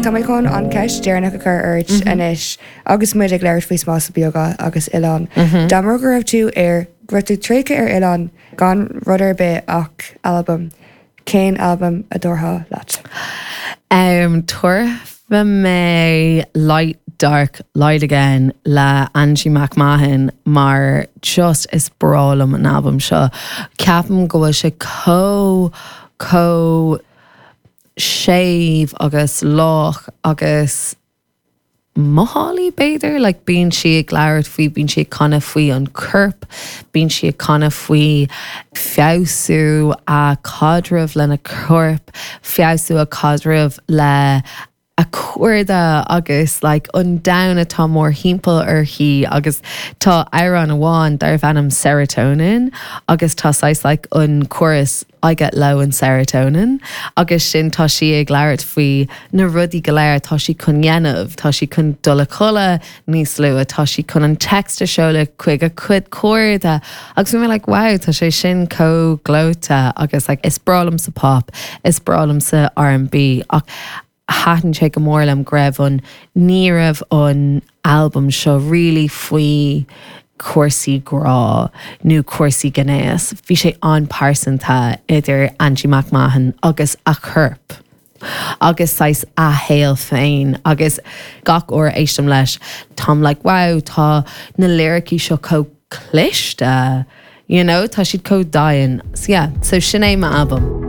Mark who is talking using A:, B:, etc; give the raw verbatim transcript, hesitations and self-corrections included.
A: Tá mé chun an ceist deireanach a chur ort mm -hmm. anois agus muid ag labhairt faoi spásanna beaga agus oileán. Mm -hmm. Dá mba go raibh tú ar go raibh tú tréigthe ar oileán gan rud ar bith ach albam. Cén albam a thabharfá leat?
B: Um, Tabharfaidh mé Light Dark Light Again le Angie McMahon mar just is breá liom an album seo. Ceapaim go bhfuil sé chomh chomh séimh agus lách agus mothálaí b'fhéidir, like bíonn sí ag labhairt faoi bíonn sí ag canadh faoi an corp, bíonn sí ag canadh faoi feabhsú a caidreamh lena corp, feabhsú a caidreamh le a cairde agus like, an domhan atá mórthimpeall uirthi agus tá amhrán amháin darb ainm serotonin agus tá sais like, an chorus I get low in serotonin agus sin tá sí ag labhairt faoi na rudaí go léir tá sí chun dhéanamh, tá sí chun dul a chodladh níos luaithe, tá sí chun an text a sheoladh chuig a cuid cairde agus bhí mé like, wow, tá sé sin chomh gleoite agus like, is breá liomsa pop, is breá liomsa R&B ach thaitin sé go mór liom go raibh an ní raibh an album seo really faoi cúrsaí grá nó cúrsaí gnéas. Bhí sé an-pearsanta idir Angie McMahon agus a corp. agus sais a shaol féin agus gach uair éistim leis Táim like wow tá na liricí seo chomh cliste you know tá siad chomh domhain so yeah so sin é m'album.